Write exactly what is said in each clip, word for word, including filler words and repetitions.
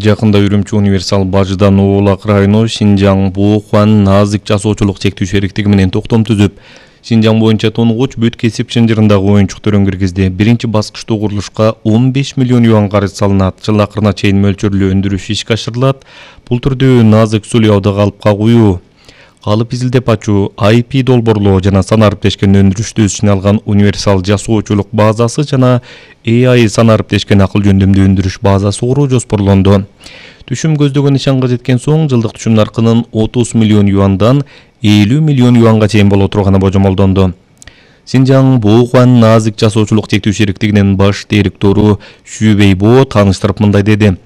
Жакында Үрүмчү универсал бажыдан Оолак району Шинжаң Боохуан Назик жасоочулук чектүү шериктиги менен токтом түзүп, Шинжаң боюнча тонугуч бүт кесип чынжырындагы оюнчуктарын киргизди. Биринчи баскычтуу курулушка он беш миллион юан карыз салынат. Жыл акырына чейин мөлчөрлүү өндүрүш ишке ашырылат. Бул түрдүү назик сулуяуды калыпка куюу, калып изилдеп ачуу, ай пи долбоорлоо жана санариптешкен өндүрүштү өз ичине алган универсал жасоочулук базасы жана эй ай санариптешкен акыл жөндөмдүү өндүрүш базасы куруу жоспорлонду. Түшүм көздөгөн нишанга жеткен соң жылдык түшүм наркынын отуз миллион юандан элүү миллион юанга чейин боло турганы божомолдонду. Шинжаң Боохуан Назик жасоочулук чектүү шериктигинин баш директору Шүбейбо тааныштырып мындай деди.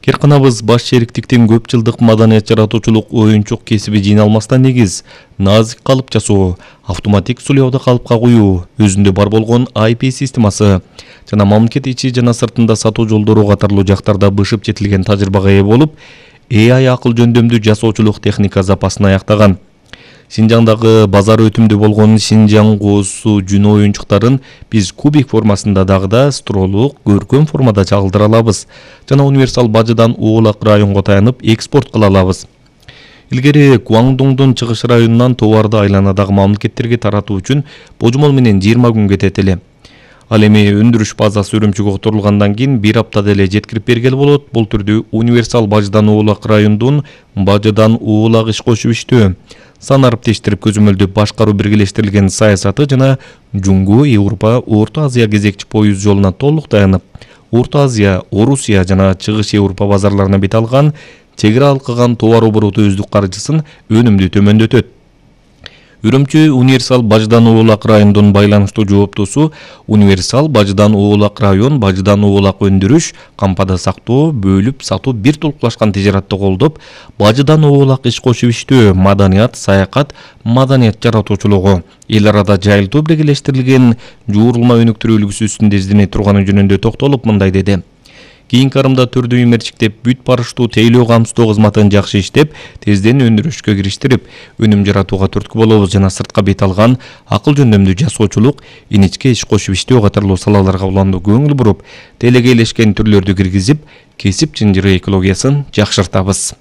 Керканабыз баш шериктиктин көп жылдык маданият жаратуучулук оюнчук кесиби жыйналмастан негиз назик калып жасоо, автоматик сулуяуды калыпка куюу, өзүндө бар болгон ай пи системасы жана мамлекет ичи жана сыртында сатуу жолдору катарлуу жактарда бышып жетилген тажрыйбага ээ болуп, эй ай акыл жөндөмдүү жасоочулук техника запасын аяктаган. Шинжаңдагы базар өтүмдүү болгон Шинжаң коосу жүнө оюнчуктарын биз кубик формасында дагы да стролук, көркөм формада чагылдыра алабыз жана универсал бажыдан Оолак районго таянып экспорт кыла алабыз. Илгери Гуандоңдун чыгыш районунан товарды айланадагы мамлекеттерге таратуу үчүн божомол менен жыйырма күн кетет эле. Ал эми өндүрүш базасы Үрүмчүгө которулгандан кийин бир аптада эле жеткирип бергели болот. Бул түрдүү универсал бажыдан Оолак райондун бажыдан Оолак иш кошуп иштөө, санариптештирип көзөмөлдөп башкаруу биргелештирилген саясаты жана Жуңгу Европа, Орто Азия кезекчи поюз жолуна толук таянып, Орто Азия, Орусия жана Чыгыш Европа базарларына бет алган чек ара алкаган товар обороту өздүк каржысын өнүмдүү төмөндөтөт. Үрүмчү универсал бажыдан Оолак районунун байланыштуу жооптосу универсал бажыдан Оолак район бажыдан Оолак өндүрүш, кампада сактоо, бөлүп сатуу бир толукташкан тижаратты колдоп, бажыдан Оолак иш кошуп иштөө, маданият, саякат, маданият жаратуучулугу, эл арада жайылтуу биргелештирилген жуурулма өнүктүрүү үлгүсү үстүндө издене турганы жөнүндө токтолуп мындай деди. Кийинки арымда түрдүү имерчиктеп бүт барыштуу тейлөө камсыздоо кызматын жакшы иштеп, тезден өндүрүшкө кириштирип, өнүм жаратууга түрткү болобуз жана сыртка бет алган акыл жөндөмдүү жасоочулук, инечке иш кошуп иштөө катарлуу салаларга уланды көңүл буруп, телегейлешкен түрлөрдү киргизип, кесип чынжыры экологиясын жакшыртабыз.